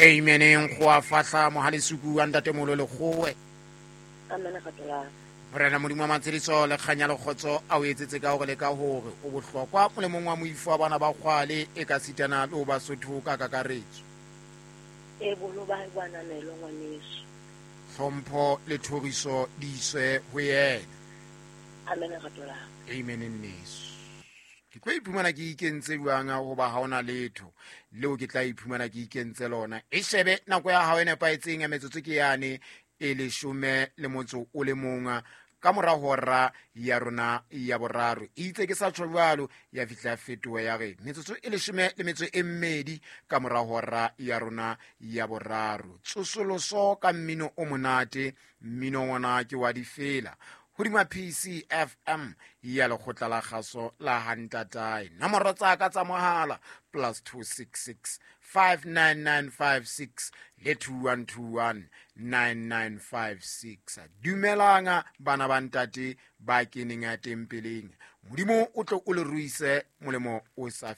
Amen. Nkgoa fahla mohalesuku wa ntatemolo lekgowe. Amen rato la. Morena Modimo wa matshediso le kganya le kgotso a o etsetse ka hore le ka hore o bohlokwa molemong wa moifo wa bana ba kgwale e ka sitana le ho Basotho ka kakaretso. E boholo ba hae bo ananelwe ngwaneso. Hlompho le thoriso di iswe ho yena. Amen rato la. Amen nneso. Ke tlo iphumana ke ikentse jwang hoba ha ona letho leo ke tla iphumana ke ikentse lona. E shebe nako ya hao e nepahetseng ya metsotso ke yane e 11 ka mora hora ya rona ya boraro. E itse ke sa tjho jwalo ya fihla fetoha ya re metsotso e 12 ka mora hora ya rona ya boraro. Tsosoloso ka mmino o monate, mmino ona ke wa difela hodima PCFM ya lekgotla la kgaso la Hantatae. Nomoro tsa ka tsa mohala +266 59956 le 2121 9956. Dumelanga bana ba ntate ba keneng ya tempeleng. Modimo o tlo o le ruise molemo o sa